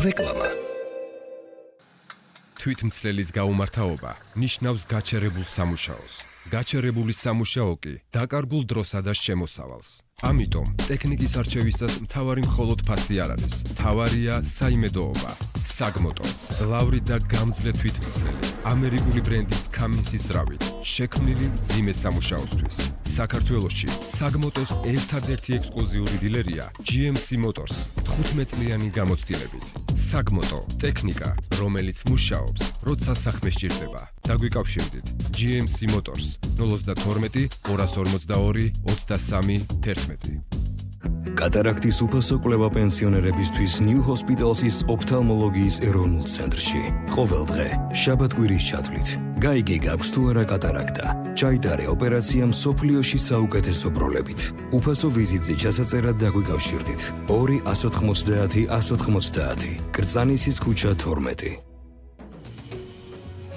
რეკლამა. თვითმცლელის გაუმართავობა ნიშნავს გაჩერებულ სამუშაოს. გაჩერებული სამუშაო კი დაკარგულ დროსა და შემოსავალს. ამიტომ ტექნიკის არჩევისას მთავარი მხოლოდ ფასი არ არის. მთავარია საიმედოობა. საგმოტო, ძლავრი და გამძლე თვითმცლელი, ამერიკული ბრენდის Cummins-ის ზრავით, შექმნილი მძიმე სამუშაოსთვის. საქართველოში საგმოტოს ერთადერთი ექსკლუზიური დილერია GMC Motors 15 წლიანი გამოცდილებით. საგმოტო, ტექნიკა, რომელიც მუშაობს, როცა საქმე სჭირდება. დაგვიკავშირდით GMC Motors 012 242 23 11. კატარაქტის უფასო კვლევა პენსიონერებისთვის New Hospital's ოფთალმოლოგიის ეროვნულ ცენტრში. ყოველ დღე, შაბათ-კვირის ჩათვლით, გაიგე გაქვს თუ არა კატარაქტა. ჩაიტარე ოპერაცია მსოფლიოში საუკეთესო ბროლებით. უფასო ვიზიტზე ჩასაწერად დაგვიკავშირდით. 2 190 190. კრწანისის ქუჩა 12.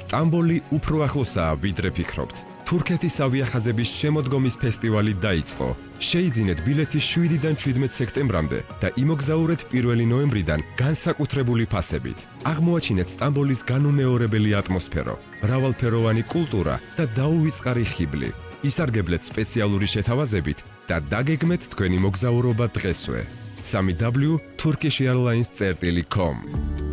სტამბოლი უფრო ახლოსაა, ვიდრე ფიქრობთ. თურქეთის ავიახაზების შემოდგომის ფესტივალი დაიწყო. შეიძინეთ ბილეთი 7-დან 17 სექტემბრამდე და იმოგზაურეთ 1 ნოემბრიდან განსაკუთრებული ფასებით. აღმოაჩინეთ სტამბოლის განუმეორებელი ატმოსფერო, მრავალფეროვანი კულტურა და დაუვიწყარი ხიბლი. ისარგებლეთ სპეციალური შეთავაზებით და დაგეგმეთ თქვენი მოგზაურობა დღესვე. www.turkishairlines.com.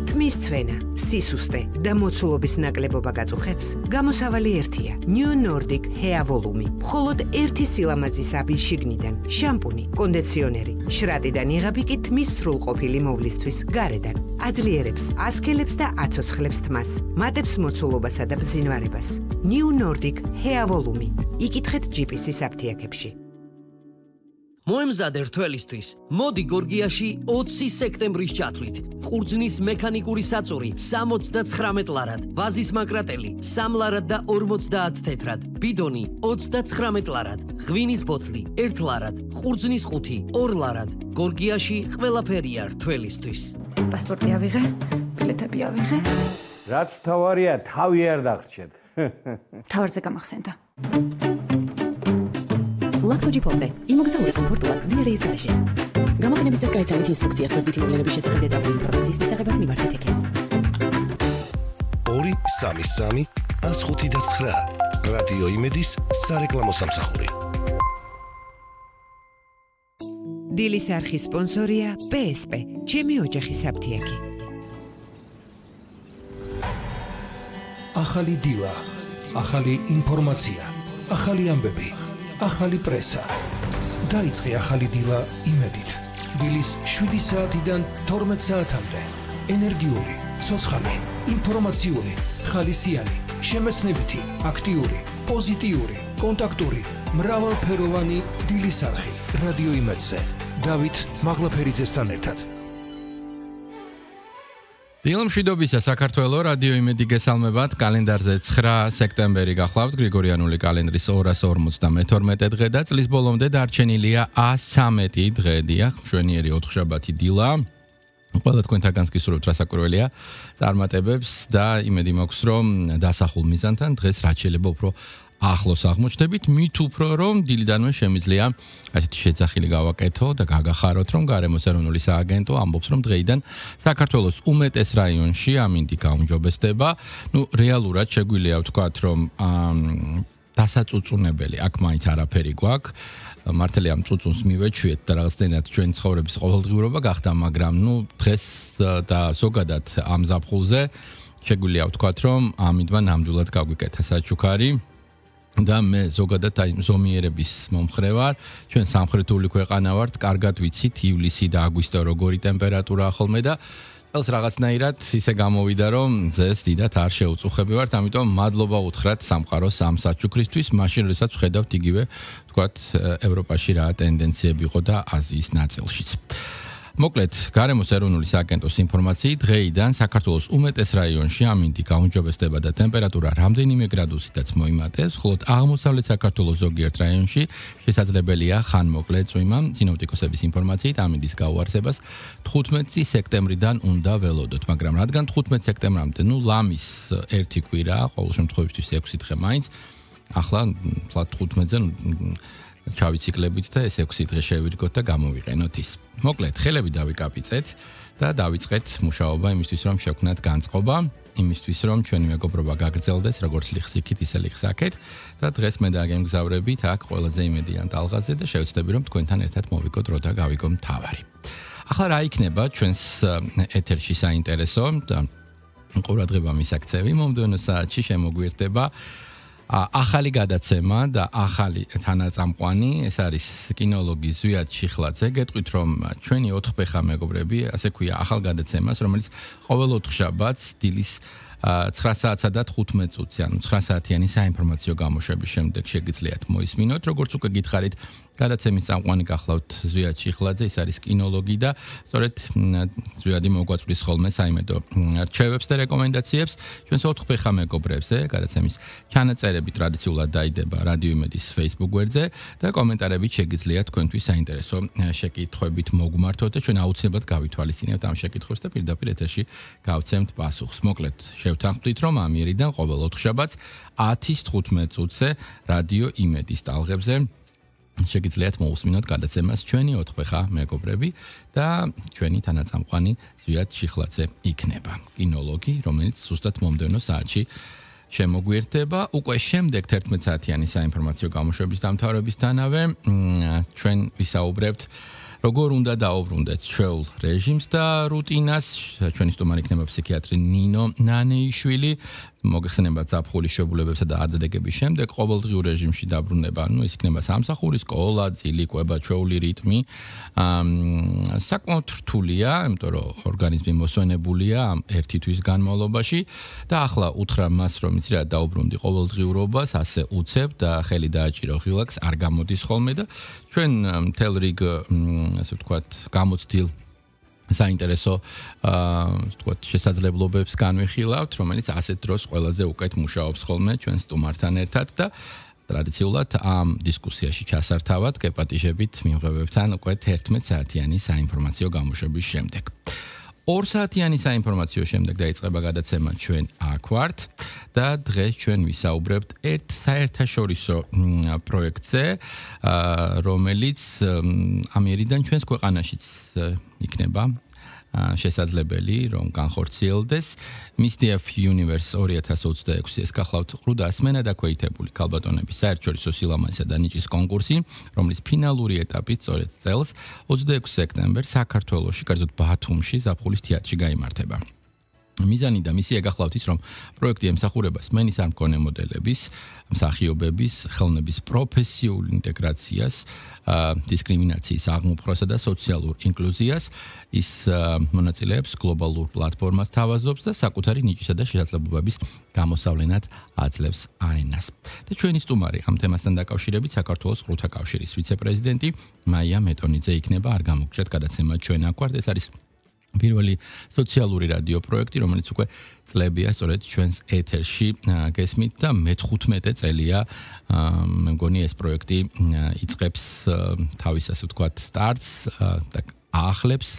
თმის ცვენა, სისუსტე და მოცულობის ნაკლებობა გაწუხებს, გამოსავალი ერთია. New Nordic Hair Volume. მხოლოდ ერთი სილამაზის აბის შიგნიდან, შამპუნი, კონდიციონერი, შრატიდან იღები კი თმის სრულყოფილი მოვლისთვის გარედან. აძლიერებს, ასქელებს და აცოცხლებს თმას, მატებს მოცულობასა და ბზინვარებას. New Nordic Hair Volume. იკითხეთ GPS-ის აფთიაქებში. მოემზადე რთველისთვის. მოდი გორგიაში 20 სექტემბრის ჩათვლით. ყურძნის მექანიკური საწური 79 ლარად, ვაზის მაკრატელი 3 ლარად და 50 თეთრად, ბიდონი 29 ლარად, ღვინის ბოთლი 1 ლარად, ყურძნის ყუთი 2 ლარად. გორგიაში ყველაფერია რთველისთვის. პასპორტი ავიღე, ბილეთები ავიღე. რაც თავარია, თავი არ დაგრჩეთ. თავარზე გამახსენდა. ლაქტოჯი ფონდე, იმოგზაური კომფორტულად დიერეის გარეშე. გამოყენების წესს გაიცანით ინსტრუქციას მოდბითი მოვლენების შესახებ დეტალური ინფორმაციის მისაღებად მიმართეთ ექეს. 233 105 რადიო იმედის სარეკლამო სამსახური. დილის არხის სპონსორია PSP, ჩემი ოჯახის აფთიაქი. ახალი დილა, ახალი ინფორმაცია, ახალი ამბები. ახალი პრესა. დაიწყე ახალი დილა იმედით. დილის 7 საათიდან 12 საათამდე. ენერგიული, ცოცხალი, ინფორმაციული, ხალისიანი, შემეცნებითი, აქტიური, პოზიტიური, კონტაქტური, მრავალფეროვანი დილის არხი. რადიო იმედზე. დავით მაღლაფერიძესთან ერთად. დილმშვიდობისა საქართველო რადიო იმედი გესალმებათ. კალენდარზე 9 სექტემბერი გახლავთ. გრიგორიანული კალენდრის 252 დღე და წლის ბოლომდე დარჩენილია 113 დღე. დიახ, მშვენიერი 4 შაბათი დილა. ყველა თქვენთაგანს გისურვებთ რასაკვირველია წარმატებებს და იმედი მაქვს რომ დასახულ მიზანთან დღეს რაც შეიძლება უფრო ახლოს აღმოჩნდებით, მით უფრო რომ დილიდანვე შემიძლია ასეთი შეძახილი გავაკეთო და გაგახაროთ რომ გარემოს ეროვნული სააგენტო ამბობს რომ დღეიდან საქართველოს უმეტეს რაიონში ამინდი გაუმჯობესდება. რეალურად შეგვიძლია ვთქვათ რომ დასაწუწუნებელი აქ მაინც არაფერი გვაქვს. მართალია ამ წუწუნს მივეჩვიეთ და რაღაცნაირად ჩვენი ცხოვრების ყოველდღიურობა გახდა, მაგრამ დღეს და ზოგადად ამ ზაფხულზე შეგვიძლია ვთქვათ რომ ამინდმა ნამდვილად გაგვიკეთა საჩუქარი. და მე ზოგადად აი ზომიერების მომხრე ვარ. ჩვენ სამხრეთული ქვეყანა ვართ, კარგად ვიცით ივლისი და აგვისტო როგორი ტემპერატურაა ხოლმე და წელს რაღაცნაირად ისე გამოვიდა რომ ძეს დიდად არ შეუწუხებივართ, ამიტომ მადლობა უთხრათ სამყაროს ამ საჩუქრისთვის, მაშინ როდესაც ვხედავთ იგივე ვთქვათ ევროპაში რა ტენდენციები იყო და აზიის ნაწილშიც. მოკლედ, გარემოს ეროვნული სააგენტოს ინფორმაციით, დღეიდან საქართველოს უმეტეს რაიონში ამინდი გაუმჯობესდება და ტემპერატურა რამდენიმე გრადუსითაც მოიმატებს, ხოლო აღმოსავლეთ საქართველოს ზოგიერთ რაიონში შესაძლებელია ხანმოკლე წვიმა. სინოპტიკოსების ინფორმაციით, ამინდის გაუარსებას 15 სექტემბრიდან უნდა ველოდოთ, მაგრამ რადგან 15 სექტემბრამდე, ლამის ერთი კვირა, ყოველ შემთხვევაში 6 დღე მაინც, ახლა 15-ზე ჩავიციკლებით და ეს 6 დღე შევირგოთ და გამოვიყენოთ ის. მოკლედ, ხელები დავიკაპიცეთ და დავიწყეთ მუშაობა იმისთვის, რომ შევქმნათ განწყობა, იმისთვის, რომ ჩვენი მეგობრობა გაგრძელდეს, როგორც ლიხსიქით, ისე ლიხსაქეთ და დღეს მე და გემგზავრებით აქ ყველაზე იმედიან ტალღაზე და შევცდები, რომ თქვენთან ერთად მოვიკოთ დრო და გავიგო მთავარი. ახლა რა იქნება ჩვენს ეთერში საინტერესო და ყურადღება მისაქცევი მომდევნო საათში შემოგვიერთდება ახალი გადაცემა და ახალი თანაწამყვანი, ეს არის კინოლოგი ზვიად ჩიხლაძე. გეტყვით, რომ ჩვენი 4 ფეხა მეგობრები, ასე ქვია, ახალ გადაცემას, რომელიც ყოველ 4 შაბათს დილის 9 საათსა და 15 წუთზე, ანუ 9 საათიანი საინფორმაციო გამოშვების შემდეგ შეგიძლიათ მოისმინოთ. როგორც უკვე გითხარით, გადაცემის წამყვანი გახლავთ ზვიად ჩიხლაძე, ის არის კინოლოგი და სწორედ ზვიადი მოგვაწვდის ხოლმე საიმედო რჩევებს და რეკომენდაციებს ჩვენს 4 ფეხა მეგობრებზე. გადაცემის ჩანაწერები ტრადიციულად დაიდება რადიო იმედის Facebook გვერდზე და კომენტარებით შეგიძლიათ თქვენთვის საინტერესო შეკითხვებით მოგმართოთ და ჩვენ აუცილებლად გავითვალისწინებთ ამ შეკითხვებს და პირდაპირ ეთერში გავცემთ პასუხს. მოკლედ შევთანხმდით, რომ ამიერიდან ყოველ 4 შაბათს 10-ის 15 წუთზე რადიო იმედის ტალღებზე შეგიძლიათ მოусმინოთ გადაცემას ჩვენი 4 ფეხა მეგობრები და ჩვენი თანაწამყვანი ზვიად ჩიხლაძე იქნება. კინოლოგი, რომელიც ზუსტად მომდევნო საათში შემოგვიერთდება. უკვე შემდეგ 11 საათიანი საინფორმაციო გამოშვების დამთავრებისთანავე ჩვენ ვისაუბრებთ როგორ უნდა დაუბრუნდეთ ჩვეულ რეჟიმს და რუტინას. ჩვენი სტუმარი იქნება ფსიქიატრი ნინო ნანეიშვილი. მოგეხსენება ზაფხულის შებულებებსა და არდადეგების შემდეგ ყოველდღიურ რეჟიმში დაბრუნება, ის იქნება სამსახური, სკოლა, ძილი, კვება, ჩვეული რიტმი. საკმაოდ რთულია, იმიტომ რომ ორგანიზმი მოსვენებულია ამ 1 თვის განმავლობაში და ახლა უთხრა მას, რომ იცი რა დაუბრუნდი ყოველდღიურობას, ასე უცებ და ხელი დააჭირო ღილაკს, არ გამოდის ხოლმე და ჩვენ მთელ რიგ ასე ვთქვათ გამოცდილ საინტერესო ვთქვათ შესაძლებლობებს განვიხილავთ, რომელიც ასეთ დროს ყველაზე უკეთ მუშაობს ხოლმე ჩვენ სტუმართან ერთად და ტრადიციულად ამ დისკუსიაში ჩასართავად გეპატიჟებით მიმღებებთან უკვე 11 საათიანი საინფორმაციო გამოშვების შემდეგ. 2 საათიანი საინფორმაციო შემდეგ დაიწყება გადაცემა ჩვენ აქ ვართ და დღეს ჩვენ ვისაუბრებთ ერთ საერთაშორისო პროექტზე, რომელიც ამიერიდან ჩვენს ქვეყანაშიც იქნება შესაძლებელი, რომ განხორციელდეს. Miss DF Universe 2026 ეს გახლავთ 800 სმენა დაქვეითებული ქალბატონების საერთაშორისო სილამაზისა და ნიჭის კონკურსი, რომლის ფინალური ეტაპი სწორედ წელს 26 სექტემბერს საქართველოში, კერძოდ ბათუმში, ზაფხულის თეატრში გაიმართება. მიზანი და მისია გახლავთ ის, რომ პროექტი ემსახურება სმენის არ მქონე მოდელების, მსახიობების, ხელოვნების პროფესიულ ინტეგრაციას, დისკრიმინაციის აღმოფხვრასა და სოციალურ ინკლუზიას. ის მონაწილეებს გლობალურ პლატფორმას თავაზობს და საკუთარი ნიჭისა და შესაძლებლობების გამოსავლენად აძლევს არენას. და ჩვენი სტუმარი ამ თემასთან დაკავშირებით საქართველოს ყრუთა კავშირის ვიცე-პრეზიდენტი მაია მეტონიძე იქნება. არ გამოგჭირთ გადაცემა ჩვენ აქ ვართ. ეს არის პირველი სოციალური რადიო პროექტი, რომელიც უკვე წლებია სწორედ ჩვენს ეთერში გესმით და მე-15 წელია მე მგონი ეს პროექტი იწყებს თავის ასე ვთქვათ სტარტს და აახლებს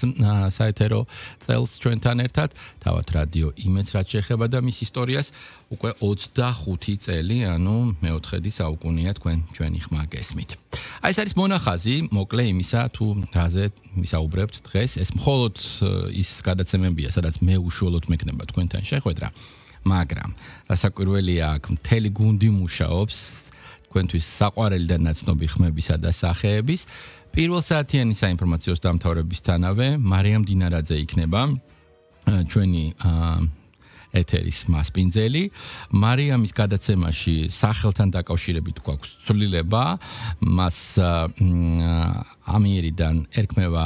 საეთერო წელს ჩვენთან ერთად. თავად რადიო იმედს რაც შეეხება და მის ისტორიას უკვე 25 წელი, ანუ მე-4 საუკუნეა თქვენ ჩვენი ხმა გესმით. ეს არის მონახაზი, მოკლე იმისა, თუ რაზე ვისაუბრებთ დღეს. ეს მხოლოდ ის გადაცემებია, სადაც მე უშუალოდ მექნება თქვენთან შეხვედრა, მაგრამ რასაკვირველია, აქ მთელი გუნდი მუშაობს თქვენთვის საყვარელი და ნაცნობი ხმებისა და სახეების. პირველ საათიანი საინფორმაციოს დამთავრებისთანავე მარიამ დინარაძე იქნება ჩვენი ეთერის მასპინძელი. მარიამის გადაცემაში სახელთან დაკავშირებით გვაქვს ცვლილება, მას ამიერიდან ერქმევა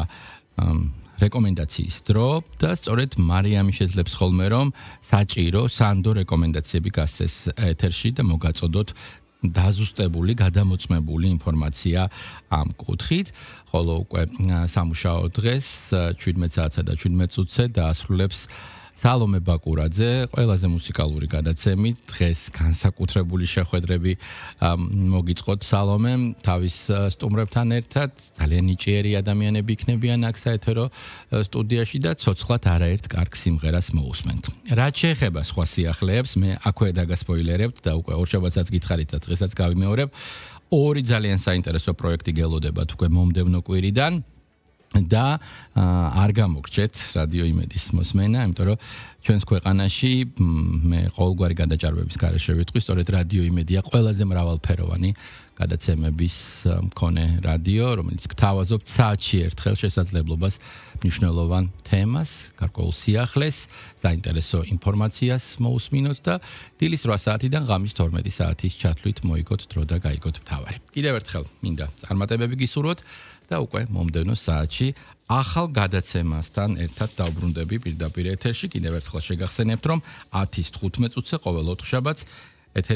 რეკომენდაციის დრო და სწორედ მარიამი შეძლებს ხოლმე, რომ საჭირო სანდო რეკომენდაციები გასცეს ეთერში და მოგაწოდოთ დაზუსტებული, გადამოწმებული ინფორმაცია ამ კუთხით, ხოლო უკვე სამუშაო დღეს 17 საათსა და 17 წუთზე დაასრულებს სალომე ბაკურაძე, ყველაზე მუსიკალური გადაცემით. დღეს განსაკუთრებული შეხვედრები მოგიწყოთ სალომემ თავის სტუმრებთან ერთად. ძალიან ნიჭიერი ადამიანები იქნებიან აქ საეთერო სტუდიაში და ცოცხლად არაერთ კარგ სიმღერას მოусმენთ. რაც შეეხება სხვა სიახლეებს, მე აქვე დაგასპოილერებთ და უკვე ორშაბათსაც გითხარით და დღესაც გავიმეორებ. 2 ძალიან საინტერესო პროექტი გელოდებათ უკვე მომდევნო კვირიდან. და არ გამოგრჩეთ რადიო იმედის მოსმენა, იმიტომ რომ ჩვენს ქვეყანაში მე ყოველგვარი გადაჭარბების გარეშე ვიტყვი, სწორედ რადიო იმედია ყველაზე მრავალფეროვანი გადაცემების მქონე რადიო, რომელიც გთავაზობთ საათში ერთხელ შესაძლებლობას მნიშვნელოვან თემას, გარკვეულ სიახლეს, საინტერესო ინფორმაციას მოусმინოთ და დილის 8 საათიდან ღამის 12 საათის ჩათვლით მოიგოთ დრო და გაიგოთ მთავარი. კიდევ ერთხელ მინდა წარმატებები გისურვოთ და უკვე მომდევნო საათში ახალ გადაცემასთან ერთად დავბრუნდები პირდაპირ ეთერში. კიდევ ერთხელ შეგახსენებთ, რომ 10-ს 15 წუთზე ყოველ 4 შაბათს ეთერი